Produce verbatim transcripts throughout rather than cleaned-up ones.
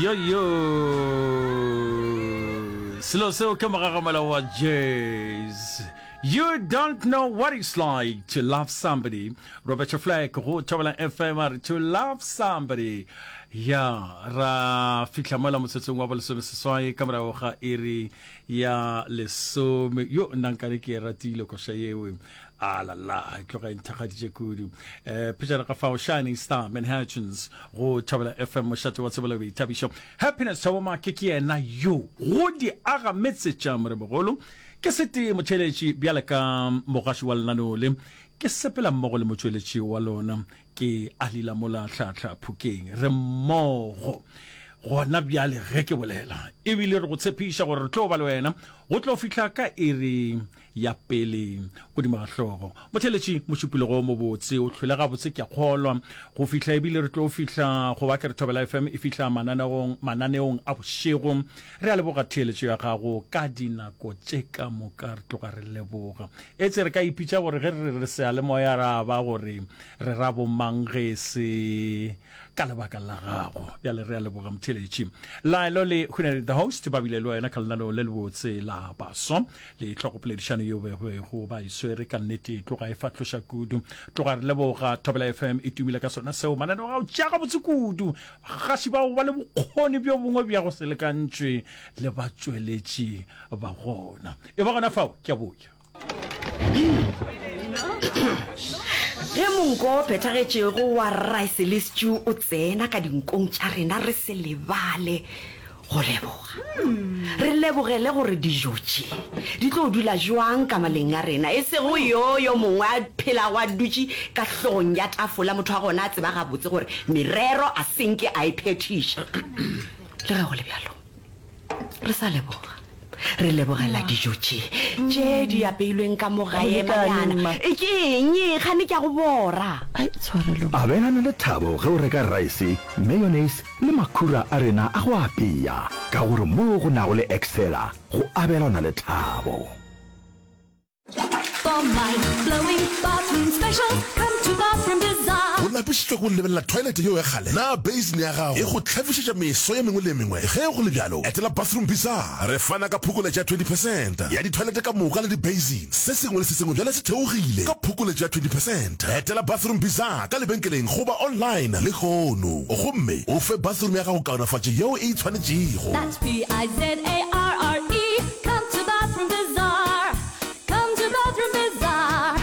Yo yo. Selo seo ke mogagamela wa jazz. You don't know what it's like to love somebody. Roberta Flack go Thobela F M a re to love somebody. Ya ra fihla mola motsotsong wa bolesome seswai ka morago ga iri ya lesome. Yo nna nkane ke e ratile koša yeo. A la la, e tloga e nthakgaditše kudu. Eh, pejana ga fao Shining Star Manhattans go Thobela F M, mošate wa tsebo le boithabišo. Happiness Thabo Make ke yena yo go di aga metse tša moremogolo. Ke sete motheeletši bjale ka mogaši wa lenaneo le, ke sepela mmogo le motšweletši wa lona ke Alila mola Hlahla Phokeng. Re mmogo gona bjale ge ke bolela, ebile re go tshepiša gore re tlo ba le wena go tlo fihla ka iri ya pele godimo ga hlogo. Motheeletši, mošupologo o mobotse, o hlwele gabotse ke a kgolwa go fihla, ebile re tlo fihla go ba ke re Thobela F M e fihla mananeong, mananeong a bošego. Re a leboga theeletšo ya gago ka dinako tše ka moka, re tloga re leboga. Etse re ka ipitša gore ge re re re seyalemoya ra ba gore re ra bomang ge e se ka lebaka la gago. Bjale re a leboga motheeletši. Laelo le Hunadi the host ba bile le wena ka lenaneo le lebotse la baswa le tlhogopoledišano yeo bego ba e swere. Ka nnete tloga e fahloša kudu, tloga re leboga. Thobela F M e tumile ka sona seo, mananeo a o tšea gabotse kudu, bagaši bao ba le bokgoni bjo bongwe bja go se lekantšwe le batšweletši ba gona. E ba gona fao, ke a boya. Ge monko o phethagetšego wa rice le stew o tsena ka dinkong tša rena, re se lebale go leboga. Re lebogele gore dijo tše di tlo dula bjang ka maleng a rena, e sego yo yo mongwe a phelago a dutše ka hlogong ya tafola, motho wa gona a tseba gabotse gore merero a se nke a e phethiša. Le ge go le bjalo, re sa leboga. Re lebogela dijo tše tše di apeilweng ka mo gae. Go lekane, Manyana. Mma. E ke eng e? Kgane ke a go bora. Ai, tshwarelo, Mma. Abelana le thabo ge o reka raese, mayonnaise le makhura a rena a go apea, ka gore moo go nago le Excella go abelana le thabo. O lapišitšwe ke go lebelela toilet yeo ya kgale? Na basin ya gago e go hlafišetša meso ye mengwe le ye mengwe? Ge go le bjalo, etela Bathroom Bizarre. Re fana ka phokoletšo ya twenty percent ya ditoilet ka moka le di-basin. Se sengwe le se sengwe bjale se theogile ka phokoletšo ya twenty percent. Etela Bathroom Bizarre ka lebenkeleng goba online lehono gomme o fe bathroom ya gago kaonafatšo yeo e e tshwanetšego. That's P I Z A R R E. Come to Bathroom Bizarre. Come to Bathroom Bizarre.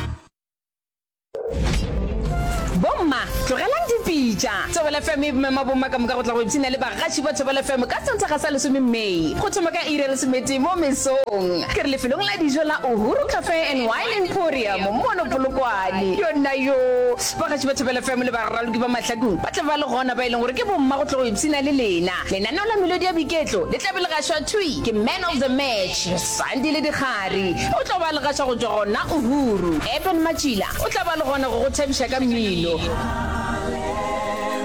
Bomma, tlogelang dipitša. Thobela F M e mema bomma ka moka go tla go ipshina le bagaši ba Thobela F M ka Sontaga sa lesome May go thoma ka iri ya lesometee mo mesong. Ke re lefelong la dijo la Uhuru Cafe and Wine Emporium mono Polokwane. Yonna yoo! Bagaši ba Thobela F M le baraloki ba Mahlakung ba tla ba le gona ba e leng gore ke bomma go tla go ipshina le lena. Lenaneo la Melodi ya Boiketlo le tla be le gašwa thwi ke Man of the Match Sandile Dikgari. O tlo ba le gaša go tšwa gona Uhuru. Eben Matšila o tla ba le gona go go thabiša ka mmino.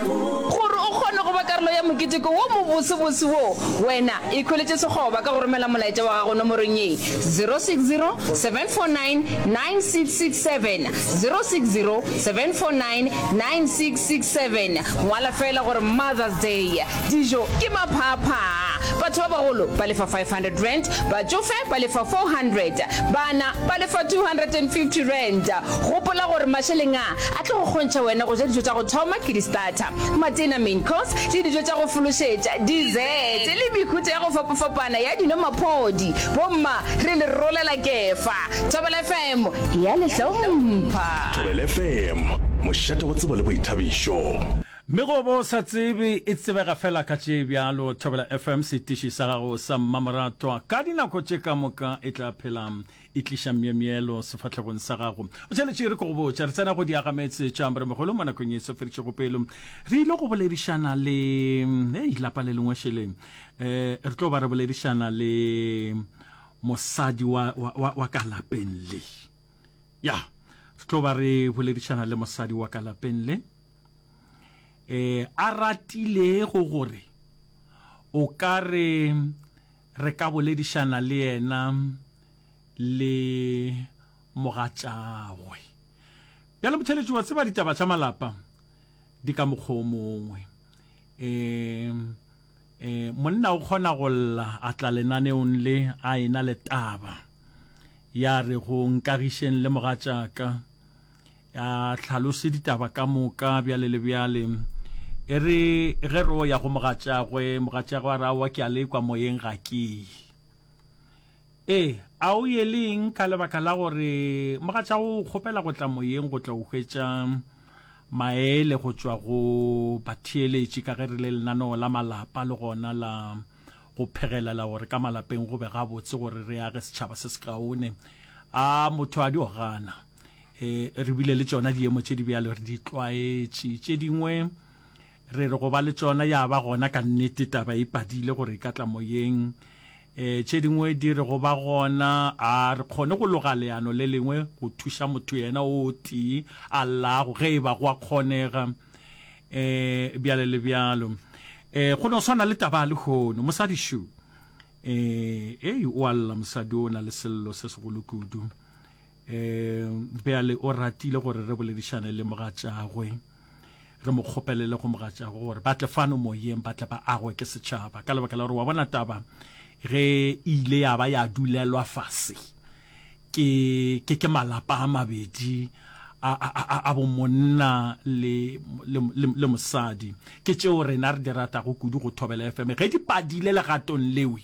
Gore o kgone go ba karolo ya moketeko wo mobosebose wo, wena ikhweletše sekgoba ka go romela molaetša wa gago nomorong ye, zero six zero seven four nine nine six six seven, zero six zero seven four nine nine six six seven. Ngwala feela gore Mother's Day. Dijo ke maphaaphaa. Batho ba bagolo ba lefa five hundred rand, batšofe ba lefa four hundred, bana ba lefa two hundred and fifty rand. Gopola gore mašeleng a a tlo go kgontšha wena go ja dijo tša go thoma ke di-starter, matena, main course, le dijo tša go fološetša, dessert, le mehuta ya go fapafapana ya dino maphodi. Bomma, re le rolela kefa. Thobela F M e a le hlompha. Thobela F M, mošate wa tsebo le boithabišo. Megobo o sa tsebe e tsebega fela ka tše bjalo. Thobela F M, setiši sa gago sa mmamoratwa ka dinako tše ka moka, e tla phela e tliša myemyelo sefahlegong sa gago. O tšheletše re ke go botša, re tsena go diagametse tša Moremogolo mo nakong ye e sofeditšego pelo. Re ile go boledišana le hei lapa le lengwe šele. Eh, re tlo ba re boledišana le mosadi wa, wa, wa, wa ka lapeng le. Ya, re tlo ba re boledišana le mosadi wa ka lapeng le. Eh, a ratilego gore o ka re re ka boledišana le yena le mogatšagwe. Bjale motheletši wa tseba ditaba tša malapa di ka mokgwa o mongwe. Eh, eh, Monna o kgona go lla a tla lenaneong le a ena le taba ya re go nkagišeng le mogatšaka, a hlalose ditaba ka moka bjale le bjale. E re ge re o ya go mogatšagwe, mogatšagwe a re aowa ke a lekwa moyeng ga ke ye. Ee, a o ye le eng ka lebaka la gore mogatšago o kgopela go tla moyeng go tla o hwetša maele go tšwa go batheeletši ka ge re le lenaneo la malapa le gona la go phegelela gore ka malapeng go be gabotse gore re age setšhaba se sekaone. A motho a dio gana. E, re bile le tšona diemo tše di bjalo re di tlwaetše. Tše dingwe re re go ba le tšona ya ba gona ka nnete taba e padile gore e ka tla moyeng. E, tše dingwe di re go ba gona a re kgone go loga leano le lengwe go thuša motho yena o tee a llago ge e ba go a kgonega, e, bjale le bjalo. E, go no swana le taba ya lehono, mosadi šo, e, ei, o a lla mosadi o na le sello se segolo kudu. E, bjale o ratile gore re boledišane le mogatšagwe, re mo kgopelele go mogatšagwe gore ba tle fano moyeng, ba tle ba agwe ke setšhaba, ka lebaka la gore wa bona taba ge e ile ya ba ya dulelwa fase ke, ke, ke malapa a mabedi a, a, a, a bomonna le, le, le, le mosadi. Ke tšeo rena re di ratago kudu go Thobela F M. Ge di padile legatong lewe,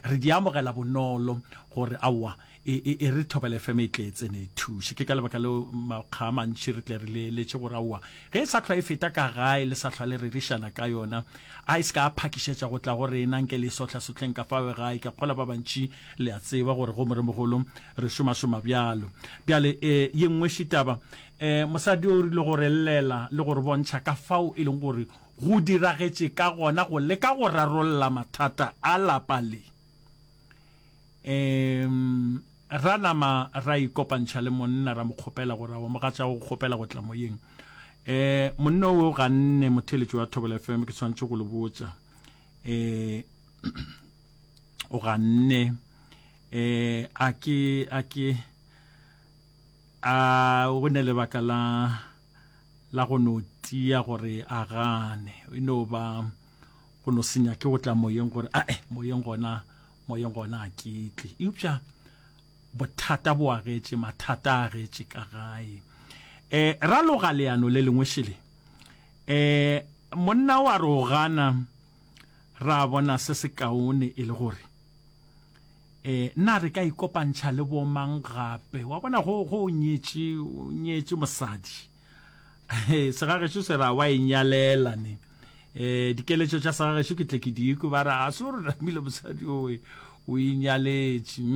re di amogela bonolo gore aowa, e, e, e re Thobela F M e tle e tsene e thuše. Ke ka lebaka leo makga a mantši re tle re leeletše gore aowa, ge e sa hlwa e feta ka gae le sa hlwa le rerišana ka yona, a e se ka phakišetša go tla go rena, nke le e sohlasohleng ka fao gae. Ke kgola ba bantši le a tseba gore go moremogolo re šomašoma bjalo. Bjale, e, ye nngwe šitaba, e, mosadi o rile go re llela le go re bontšha ka fao e leng gore go diragetše ka gona go leka go rarolla mathata a lapa le. Um, ra nama ra ikopantšha le monna, ra mo kgopela gore aowa mogatša o kgopela go tla moyeng. Eh, monna o ganne, motheeletši wa Thobela F M, ke swanetše go le botša. Eh, o ganne. Eh, a ke, a ke, a o ne lebaka la, la go no tia gore a gane. E no ba go no senya ke go tla moyeng gore, ae, moyeng gona, moyeng gona a ke tle. Eupša bothata bo agetše, mathata a agetše ka gae. Eh, ra loga leano le lengwe šele. Eh, monna o a re o gana, ra bona se se kaone e le gore, eh, na re ka ikopantšha le bomang gape. Wa bona go, go nyetše, o nyetše mosadi. Eh, segagešo se ra wa e nyalela ne. Eh, dikeletšo tša segagešo ke tle ke di kwe, ba re, a se gore namile mosadi owe, o inyaletše.